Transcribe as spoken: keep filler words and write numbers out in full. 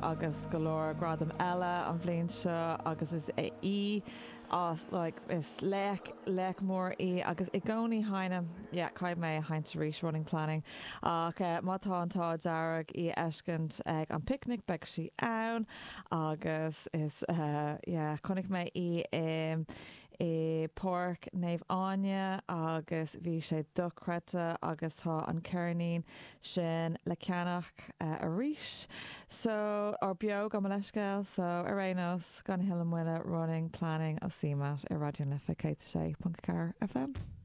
agus go leor gradam eile an bhliain seo agus is é í as like, is laoch laoch mór í agus i gcónaí haine yeah, caithfidh mé seinnt arís running planning ach uh, má tá an t-ádh dearg í a fheiscint ag an picnic beidh sí ann agus is uh, yeah, chonaic mé í um, i Páirc Naomh Áine agus bhí sé dochreidte agus tá an ceirnín sin le ceannach uh, arís. So ar beo go leiscéil so ar aon nós gan thuilleadh moille running planning ó CMAT ar Raidió na Life céad sé ponc ceathair FM.